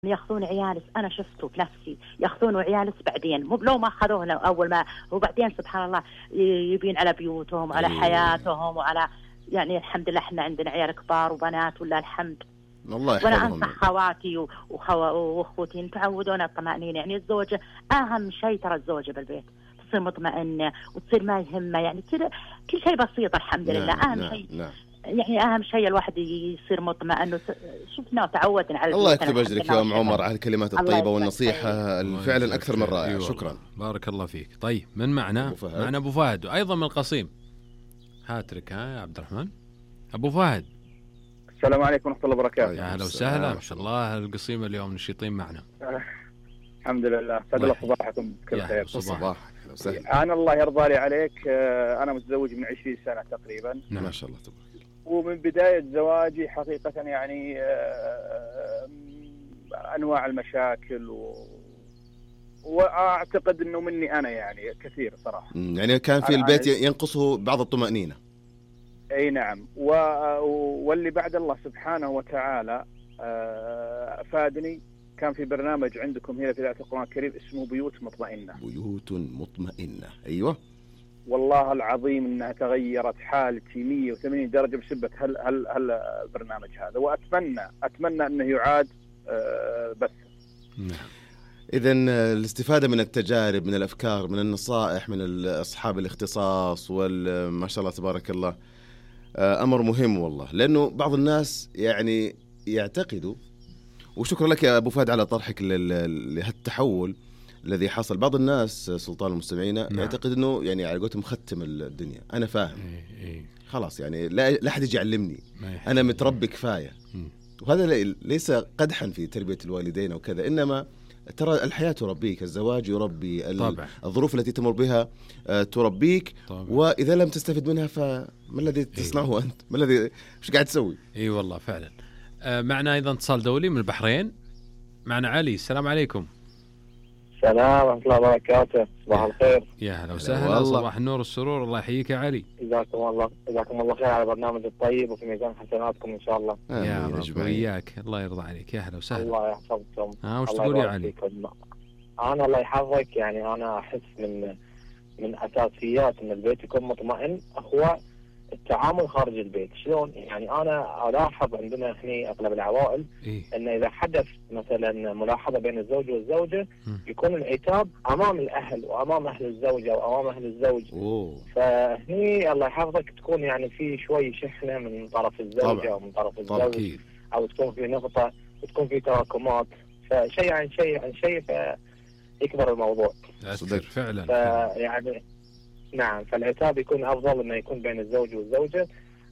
ياخذون عيالس، أنا شفته بنفسي ياخذون عيالس بعدين، مو لو ما أخذوه أول ما، وبعدين سبحان الله يبين على بيوتهم على حياتهم وعلى، يعني الحمد لله احنا عندنا عيال كبار وبنات ولا الحمد. الله يحفظهم. وانا انصح خواتي واخوتي تعودون الطمأنينة، يعني الزوجة اهم شيء، ترى الزوجة بالبيت تصير مطمئنة وتصير ما يهمها، يعني كذا كل شيء بسيط الحمد لله. اهم شيء يعني اهم شيء الواحد يصير مطمئن. شفنا وتعودنا على الله يكتب اجرك يا ام عمر على الكلمات الطيبة والنصيحة فعلا اكثر من رائعة. شكرا، بارك الله فيك. طيب من معنا ابو فهد وايضا من القصيم. هاترك يا عبد الرحمن. ابو فهد السلام عليكم ورحمة الله وبركاته. يا هلا وسهلا، ما شاء الله القصيمة اليوم نشيطين معنا. الحمد لله، سعد الله صباحكم بكل خير. صباح. أنا الله يرضى لي عليك، أنا متزوج من 20 سنة تقريبا. ما شاء الله تبارك. ومن بداية زواجي حقيقة يعني أنواع المشاكل وأعتقد أنه مني أنا يعني كثير صراحة. يعني كان في البيت ينقصه بعض الطمأنينة. اي نعم، واللي بعد الله سبحانه وتعالى افادني، كان في برنامج عندكم هنا في إذاعة القرآن الكريم اسمه بيوت مطمئنة. بيوت مطمئنة، ايوه والله العظيم انها تغيرت حالتي 180 درجة بسبب هل البرنامج هذا، واتمنى انه يعاد بس. إذن الاستفادة من التجارب، من الأفكار، من النصائح من أصحاب الاختصاص ما شاء الله تبارك الله أمر مهم والله، لأنه بعض الناس يعني يعتقدوا، وشكرا لك يا أبو فهد على طرحك لهالتحول الذي حصل. بعض الناس سلطان المستمعين يعتقد أنه يعني على قولتهم ختم الدنيا، أنا فاهم خلاص يعني لا أحد يجي يعلمني، أنا متربي كفاية. وهذا ليس قدحا في تربية الوالدين أو كذا، إنما ترى الحياة تربيك، الزواج يربي، الظروف التي تمر بها تربيك. وإذا لم تستفد منها فما الذي تصنعه أنت؟ ما الذي مش قاعد تسوي؟ اي والله فعلا. معنا أيضا اتصال دولي من البحرين، معنا علي. السلام عليكم. السلام ورحمة الله وبركاته. صباح الخير. يا هلا وسهلا. صباح النور والسرور. الله يحييك يا علي. جزاكم الله خير على البرنامج الطيب وفي ميزان حسناتكم إن شاء الله. يا رب وياك، الله يرضى عليك. يا هلا وسهلا. الله يحفظكم. وش تقول يا علي؟ أنا الله يحفظك، يعني أنا أحس من أساسيات إن البيت يكون مطمئن هو التعامل خارج البيت. شلون؟ يعني أنا ألاحظ عندنا هنا أغلب العوائل إن إذا حدث مثلا ملاحظة بين الزوج والزوجة يكون العتاب أمام الأهل وأمام أهل الزوجة وأمام أهل الزوج. فهني الله يحفظك تكون يعني في شوي شحنة من طرف الزوجة أو من طرف الزوج، أو تكون في نقطة وتكون في تراكمات، فشيء عن شيء فيكبر الموضوع. فعلا. يعني نعم، فالعتاب يكون أفضل إنه يكون بين الزوج والزوجة.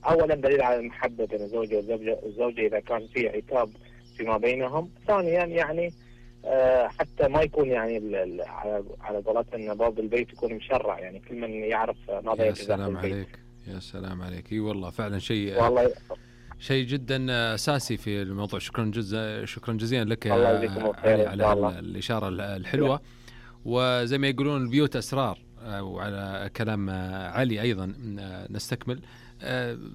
أولا دليل على المحبة بين الزوج والزوجة إذا كان في عتاب فيما بينهم. ثانيا يعني حتى ما يكون يعني على قولتنا باب البيت يكون مشرع، يعني كل من يعرف ماذا يجب في البيت. يا سلام عليك. اي والله فعلا شيء جدا أساسي في الموضوع. شكرا جزيلا لك على الإشارة الحلوة. وزي ما يقولون البيوت أسرار، وعلى كلام علي أيضا نستكمل.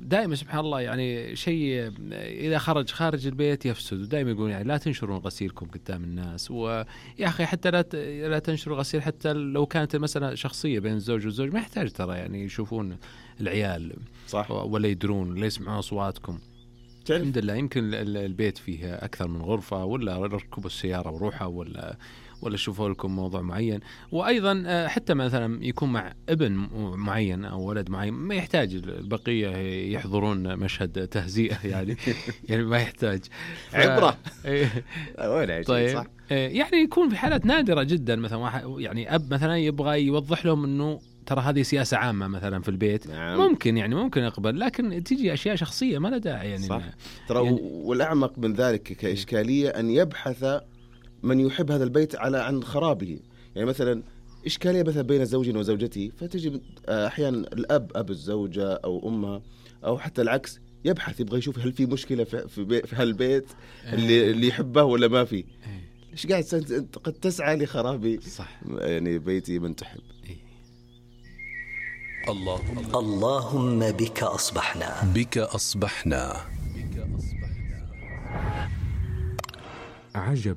دائما سبحان الله يعني شيء إذا خارج البيت يفسد. ودائما يقولون يعني لا تنشرون غسيلكم قدام الناس، ويا أخي حتى لا تنشروا غسيل، حتى لو كانت المسألة شخصية بين الزوج والزوج ما يحتاج ترى يعني يشوفون العيال صح، ولا يدرون ولا يسمعون أصواتكم. الحمد لله يمكن البيت فيه أكثر من غرفة، ولا ركبوا السيارة وروحها، ولا شوفوا لكم موضوع معين. وأيضا حتى مثلا يكون مع ابن معين أو ولد معين ما يحتاج البقية يحضرون مشهد تهزيئة يعني يعني ما يحتاج عبرة. طيب صح. يعني يكون في حالات نادرة جدا، مثلا يعني أب مثلا يبغى يوضح لهم أنه ترى هذه سياسة عامة مثلا في البيت. نعم. ممكن أقبل، لكن تيجي أشياء شخصية ما لها داعي يعني. صح. ترى يعني والأعمق من ذلك كإشكالية أن يبحث من يحب هذا البيت عن خرابه. يعني مثلا إشكالية مثلا بين زوج وزوجته، فتجي أحيانا الأب أب الزوجة أو أمها أو حتى العكس يبحث، يبغى يشوف هل في مشكلة في هالبيت اللي يحبه ولا ما في. ليش قاعد قد تسعى لخراب صح يعني بيتي من تحب. اللهم بك أصبحنا عجبا